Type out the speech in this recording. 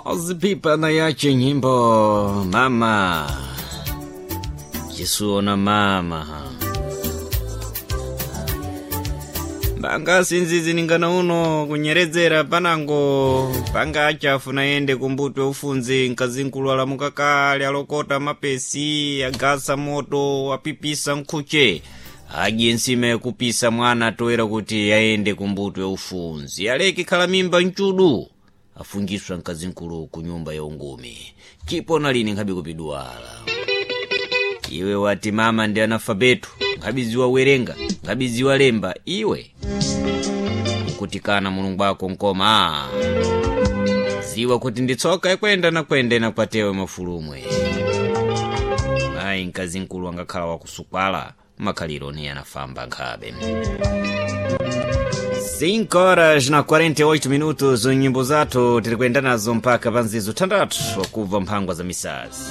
Mazipipa na yache nyimbo mama chisuona mama mbanga sinzizi ningana uno kunyeredzera panango panga achafuna yende kumbutwe ufunzi nkazinkulu alamuka kale alokota mapesi agasa moto apipisa nkhuche adye nsima yakupisa mwana atoera kuti ayende kumbutwe ufunzi aleke khala mimba mchudu afungiswa mkazinkulu ku nyumba ya ungumi chipona lini nkhabi kupidwala iwe wati mama ndi analfabetu nkhabiziwa werenga nkhabiziwa lemba iwe ukutikana mulungu wako nkoma ziwa kuti ndi tsoka yakwenda nakwenda inakwatewe mafulumwe mayi mkazinkulu angakhala wakusukwala makhaliro ni anafamba nkhabe 5 horas na 48 minutos nyimbo zathu tiri kuyenda nazo mpaka panzizo thandatu wakubva mphangwa za misazi.